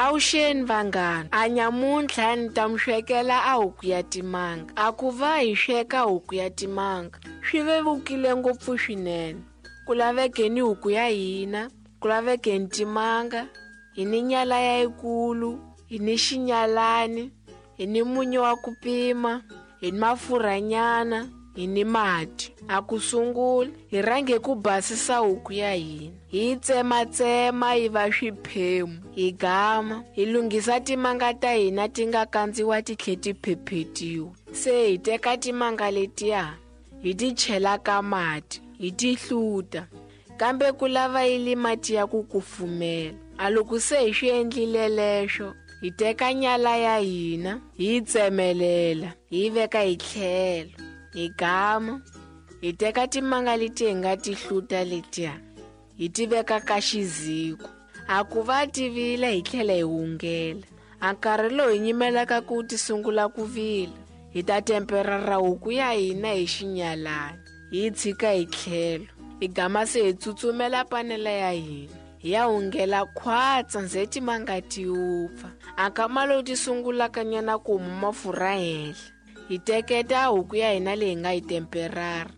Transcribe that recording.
Avuxeni vanghana, a nyamuntlha ni ta mi swekela a huku ya timanga. A ku va hi sweka huku ya timanga swi vevukile ngopfu swinene. Ku laveke ni huku ya hina, ku laveke ni timanga, hi ni nyala ya yikulu, hi ni xinyalani, hi ni munyu wa ku pima, hi ni mafurhanyana, hi ni mati. A ku sungula hi rhange ku basisa huku ya hina, hi yi tsematsema yi va swiphemu, hi gama hi lunghisa timanga ta hina ti nga kandziwa ti tlhe ti phephetiwa. Se hi teka timanga letiya hi ti chela ka mati, hi ti hluta, kambe ku lava yi li mati ya ku kufumela. A loko se hi swi endlile leswo, hi teka nyala ya hina hi yi tsemelela, hi yi veka hi tlhelo, hi gama, hi teka timanga leti hi nga ti hluta letiya, hi ti veka ka xiziko. A ku va ti vila hi tlhela hi hungela. A nkarhi lowu hi nyimelaka ku ti sungula ku vila, hi ta temperara huku ya hina hi xinyalani, hi yi tshika hi tlhelo, hi gama se hi tsutsumela panela ya hina, hi ya hungela khwatsa nze timanga ti wupfa. A nkama lowu ti sungulaka nyana ku huma mafurha henhla, hi teketa huku ya hina leyi hi nga yi temperara.